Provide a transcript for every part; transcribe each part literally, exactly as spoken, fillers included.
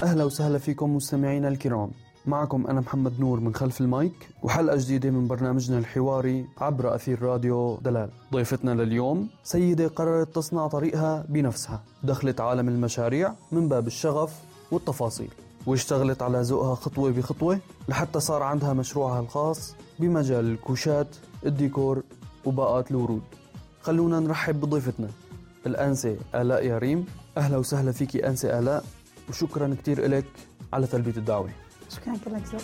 أهلا وسهلا فيكم مستمعينا الكرام. معكم أنا محمد نور من خلف المايك وحلقة جديدة من برنامجنا الحواري عبر أثير راديو دلال. ضيفتنا لليوم سيدة قررت تصنع طريقها بنفسها، دخلت عالم المشاريع من باب الشغف والتفاصيل، واشتغلت على ذوقها خطوة بخطوة لحتى صار عندها مشروعها الخاص بمجال الكوشات، الديكور وباقات الورود. خلونا نرحب بضيفتنا الأنسة آلاء ياريم. أهلا وسهلا فيكي أنسة آلاء، وشكرا كتير إلك على تلبية الدعوة. شكرا لك زوج.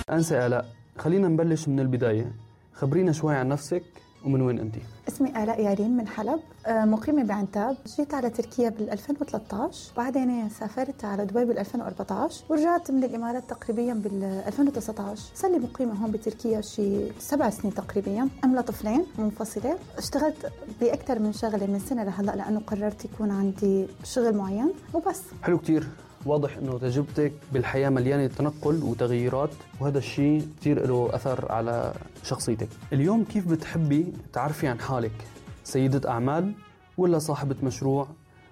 أنسة آلاء، خلينا نبلش من البداية. خبرينا شوي عن نفسك ومن وين أنتي؟ اسمي آلاء ياريم من حلب، مقيمة بعنتاب. جيت على تركيا بال ألفين وثلاثة عشر، بعدين سافرت على دبي بال ألفين وأربعة عشر، ورجعت من الإمارات تقريبا بال ألفين وتسعة عشر. صار لي مقيمة هون بتركيا شي سبع سنين تقريبا، أملا طفلين منفصلة. اشتغلت بأكثر من شغلة من سنة لهلا لأنه قررت يكون عندي شغل معين وبس. حلو كتير. واضح انه تجربتك بالحياة مليانة تنقل وتغييرات، وهذا الشيء كتير له أثر على شخصيتك. اليوم كيف بتحبي تعرفي عن حالك؟ سيدة أعمال ولا صاحبة مشروع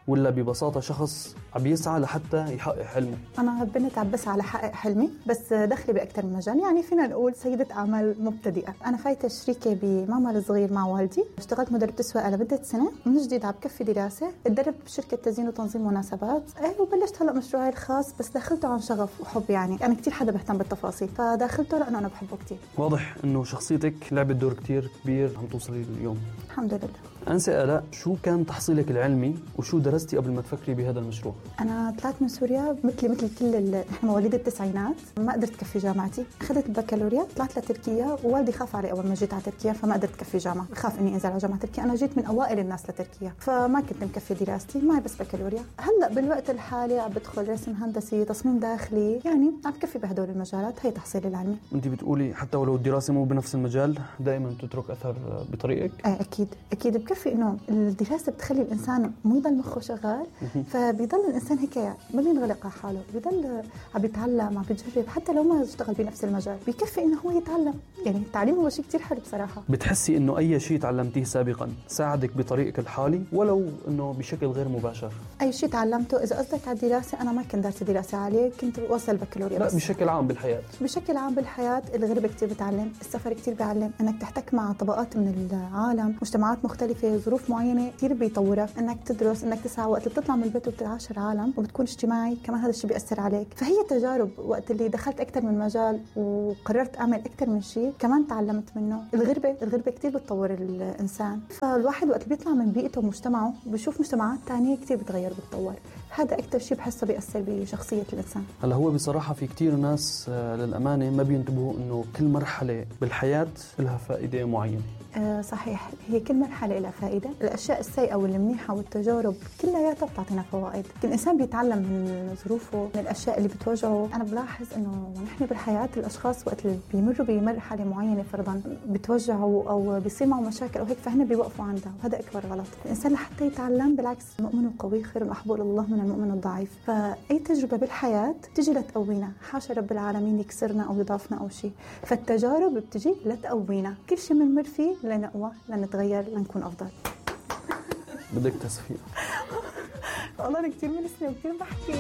ولا ببساطة شخص عم يسعى لحتى يحقق حلمه؟ أنا بنت عم بسعى لحقق حلمي، بس دخلي بأكثر من مجال. يعني فينا نقول سيدة أعمال مبتدئة. أنا فايتة شريكة بماما الصغير مع والدي. اشتغلت مدربة سواقة لمدة سنة، من جديد عم بكفي دراسة. اتدربت بشركة تزيين وتنظيم مناسبات، ايه وبلشت هلا مشروعي الخاص، بس دخلته عن شغف وحب. يعني أنا كتير حدا بهتم بالتفاصيل، فداخلته لأنه أنا بحبه كتير. واضح إنه شخصيتك لعبت دور كتير كبير عم توصلي اليوم. الحمد لله. أنسة آلاء، شو كان تحصيلك العلمي وشو درستي قبل ما تفكري بهذا المشروع؟ أنا طلعت من سوريا مثلي مثل كل ال... إحنا مواليد التسعينات، ما قدرت كفي جامعتي. أخذت البكالوريا، طلعت لتركيا، ووالدي خاف علي أول ما جيت على تركيا، فما قدرت كفي جامعة، خاف إني أنزل على جامعة تركيا. أنا جيت من أوائل الناس لتركيا، فما كنت مكفي دراستي، معي بس بكالوريا. هلأ بالوقت الحالي عم بدخل رسم هندسي، تصميم داخلي، يعني عم بكفي بهدول المجالات. هي تحصيلي العلمي. أنت بتقولي حتى ولو الدراسة مو بنفس المجال دائما تترك أثر بطريقك؟ آه أكيد أكيد بكفي. إنه الدراسة بتخلي الإنسان مو يضل مخه شغال، فبيضل الإنسان هيك ما بينغلق على حاله، بيضل عم يتعلم، عم بيجرب، حتى لو ما اشتغل بنفس المجال بيكفي إنه هو يتعلم. يعني التعليم هو شيء كتير حلو بصراحة. بتحسي إنه أي شيء تعلمتيه سابقا ساعدك بطريقك الحالي ولو إنه بشكل غير مباشر؟ أي شيء تعلمته، إذا قصدك على الدراسة، أنا ما كنت دارسة دراسة عالية، كنت وصل البكالوريا. لا بس بشكل عام بالحياة. بشكل عام بالحياة الغربة كتير بتعلم، السفر كتير بيعلم، إنك تحتك مع طبقات من العالم، مجتمعات مختلفة، ظروف معينة كتير بيطورك. إنك تدرس، إنك تسعى، وقت اللي بتطلع من البيت وبتعاشر عالم وبتكون اجتماعي كمان، هذا الشيء بيأثر عليك. فهي تجارب. وقت اللي دخلت أكتر من مجال وقررت أعمل أكتر من شيء كمان تعلمت منه. الغربة الغربة كتير بتطور الإنسان، فالواحد وقت اللي بيطلع من بيئته ومجتمعه بيشوف مجتمعات تانية كتير بتغير بتطور. هذا أكتر شيء بحسه بيأثر بشخصية الإنسان. هلا هو بصراحة في كتير ناس للأمانة ما بينتبهوا إنه كل مرحلة بالحياة لها فائدة معينة. آه صحيح، هي كل مرحلة لها فائدة. الأشياء السيئة والمنيحة والتجارب كلها بتعطينا فوائد. الإنسان بيتعلم من ظروفه، من الأشياء اللي بتواجهه. أنا بلاحظ إنه نحن بالحياة الأشخاص وقت اللي بيمروا بمرحلة معينة فرضاً بتوجعوا أو بيصير معه مشاكل أو هيك، فهنا بيوقفوا عندها، وهذا أكبر غلط. الإنسان لحتى يتعلم بالعكس، المؤمن القوي خير وأحب إلى الله من المؤمن الضعيف. فأي تجربة بالحياة تجي لتقوينا، حاشا رب العالمين يكسرنا أو يضعفنا أو شيء. فالتجارب بتجي لتقوينا، كل شيء بنمر فيه لنقوى، لنتغير، لنكون أفضل. بدك تصفيق. والله أنا كتير منسنة وكتير بحكي.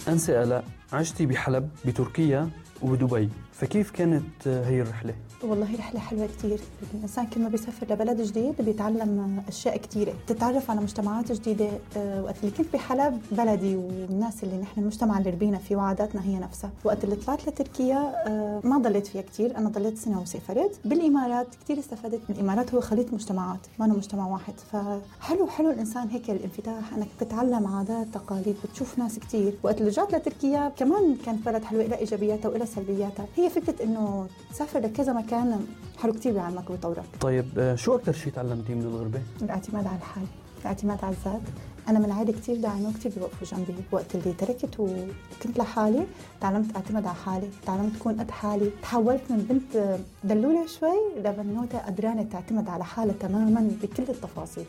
أنسة آلاء، عشتي بحلب بتركيا وبدبي، فكيف كانت هي الرحلة؟ والله رحلة حلوة كتير. الإنسان كل ما بيسافر لبلد جديد بيتعلم أشياء كتيرة، تتعرف على مجتمعات جديدة. وقت اللي كنت بحلب بلدي والناس اللي نحن المجتمع اللي ربينا فيه وعاداتنا هي نفسها. وقت اللي طلعت لتركيا ما ضليت فيها كتير، أنا ضليت سنة وسافرت. بالإمارات كتير استفدت. الإمارات هو خليط مجتمعات، ما أنا مجتمع واحد. فحلو حلو الإنسان هيك الانفتاح، أنك تتعلم عادات تقاليد، بتشوف ناس كتير. وقت اللي رجعت لتركيا كمان كانت بلد حلوة، إلى إيجابياتها وإلى سلبياتها. هي فكرة إنه تسافر لكذا مكان حلو كتير بيعلمك وبيطورك. طيب شو أكتر شيء تعلمتيه من الغربة؟ الاعتماد على الحال. الاعتماد على الذات. أنا من عائلة كتير داعمة وكتير بيوقفوا جنبي. وقت اللي تركت وكنت لحالي تعلمت أعتمد على حالي، تعلمت أكون قد حالي، تحولت من بنت دلولة شوي لبنوتة قدرانة تعتمد على حالها تماماً بكل التفاصيل،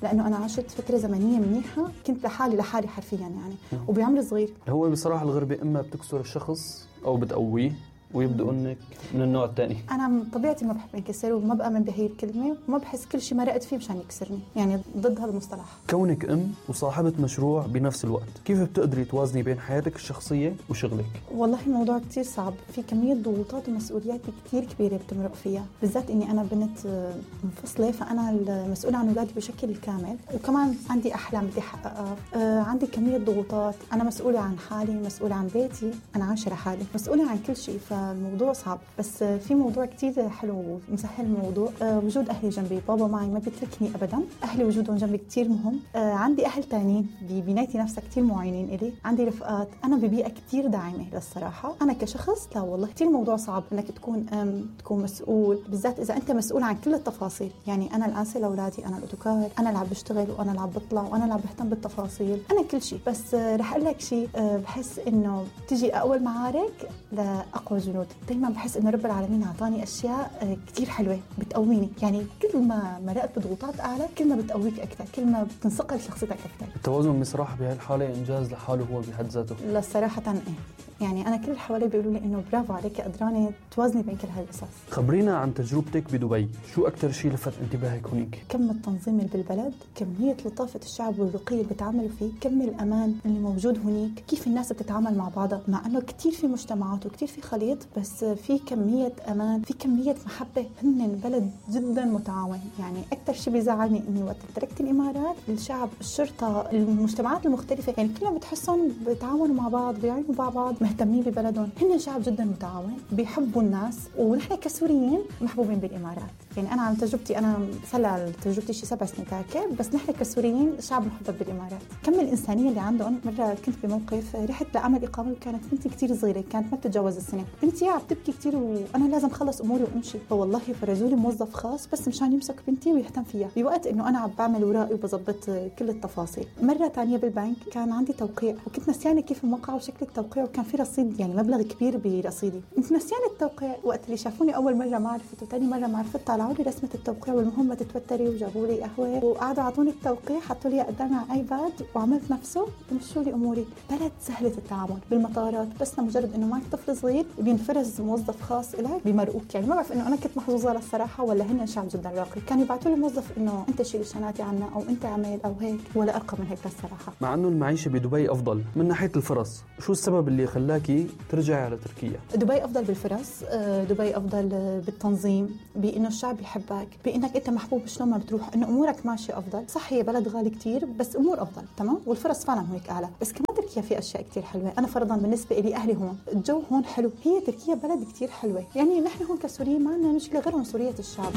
لأنه أنا عشت فترة زمنية منيحة كنت لحالي لحالي حرفياً يعني وبعمر صغير. هو بصراحة الغربة إما بتكسر الشخص أو بتقويه ويبدأ إنك من النوع الثاني. أنا طبيعتي ما بحب انكسر وما بآمن بهي الكلمة وما بحس كل شيء مرقت فيه مشان يكسرني، يعني ضد هذا المصطلح. كونك أم وصاحبة مشروع بنفس الوقت، كيف بتقدري توازني بين حياتك الشخصية وشغلك؟ والله الموضوع كتير صعب، في كمية ضغوطات ومسؤوليات كتير كبيرة بتمرق فيها، بالذات إني أنا بنت منفصلة فأنا المسؤولة عن أولادي بشكل كامل، وكمان عندي أحلام بدي أحققها، آه عندي كمية ضغوطات، أنا مسؤولة عن حالي، مسؤولة عن بيتي، أنا عايشة لحالي، مسؤولة عن كل شيء. الموضوع صعب، بس في موضوع كتير حلو ومسهل الموضوع. أه وجود أهلي جنبي، بابا معي ما بيتركني أبدا، أهلي وجودهم جنبي كتير مهم. أه عندي أهل تانيين ببنايتي نفسها كتير معينين إلي، عندي رفقات، أنا ببيئة كتير داعمة للصراحة. أنا كشخص لا والله كتير موضوع صعب إنك تكون أم تكون مسؤول، بالذات إذا أنت مسؤول عن كل التفاصيل. يعني أنا الآنسة لأولادي، أنا الأوتوكار، أنا اللي عم بشتغل وأنا اللي عم بطلع وأنا اللي عم بهتم بالتفاصيل، أنا كل شيء. بس أه رح أقول لك شيء، أه بحس إنه تجي أقوى المعارك لأقوى جنود. دايما بحس إنه رب العالمين أعطاني أشياء كتير حلوة بتقويني، يعني كل ما مرقت بضغوطات أعلى كل ما بتقويك أكثر، كل ما بتنصقل شخصيتك أكثر. التوازن بصراحة بهالحالة إنجاز لحاله هو بحد ذاته. لا صراحة إيه، يعني أنا كل اللي حوالي بيقولوا لي إنه برافو عليك قدرانة توازني بين كل هالقصص. خبرينا عن تجربتك بدبي، شو أكتر شيء لفت انتباهك هناك؟ كم التنظيم اللي بالبلد، كمية لطافة الشعب والرقي اللي بيتعاملوا فيه، كم الأمان اللي موجود هناك، كيف الناس بتتعامل مع بعضها، مع إنه كتير في مجتمعات وكتير في خليط، بس في كمية أمان، في كمية محبة. هن بلد جدا متعاون. يعني أكتر شيء بيزعلني إني وقت تركت الإمارات، الشعب، الشرطة، المجتمعات المختلفة، يعني كلهم بتحسهم بيتعاونوا مع بعض، بيعينوا مع بعض، مهتمين ببلدهم. هن شعب جدا متعاون، بيحبوا الناس، ونحن كسوريين محبوبين بالإمارات. يعني أنا عن تجربتي، أنا صار تجربتي شي سبع سنين تاكل، بس نحن كسوريين شعب محبب بالإمارات. كم الإنسانية اللي عندهم. مرة كنت بموقف رحت لعمل إقامة وكانت بنتي كتير صغيرة، كانت ما بتتجاوز السنة، بنتي عم تبكي كتير وأنا لازم خلص أموري وأمشي، فوالله فرجوا لي موظف خاص بس مشان يمسك بنتي ويهتم فيها بوقت إنه أنا عم بعمل ورائي وبظبط كل التفاصيل. مرة تانية بالبنك كان عندي توقيع وكنت نسيانة كيف الموقع وشكل التوقيع، وكان في رصيد يعني مبلغ كبير برصيدي، كنت نسيانة التوقيع. وقت اللي شافوني أول مرة ما عرفت وتاني مرة ما عرفت، طلعوا لي رسمة التوقيع والمهم ما تتوتري، وجابوا لي قهوة وقعدوا عطوني التوقيع، حطوا لي قدامي على ايباد وعملت نفسه ومشوا لي اموري. بلد سهلة التعامل. بالمطارات بس لمجرد انه معك طفل صغير بينفرز موظف خاص لك بيمرقوك. يعني ما بعرف انه انا كنت محظوظة للصراحة ولا هن شعب جدا راقي، كانوا يبعثوا لي موظف انه انت شيل شنطتي عنا او انت اعمل او هيك، ولا ارقى من هيك للصراحة. مع انه المعيشة بدبي افضل من ناحية الفرص، شو السبب اللي خلاكي ترجعي على تركيا؟ دبي افضل بالفرص، دبي افضل بالتنظيم، بانه الشعب يحبك، بانك انت محبوب شلون ما بتروح، انه امورك ماشيه افضل. صح هي بلد غالي كتير بس امور افضل تمام، والفرص فعلا هيك اعلى. بس كمان تركيا في اشياء كتير حلوه. انا فرضا بالنسبه لي اهلي هون، الجو هون حلو، هي تركيا بلد كتير حلوه. يعني نحن هون كسوريين ما عندنا مشكله غير عنصريه الشعب.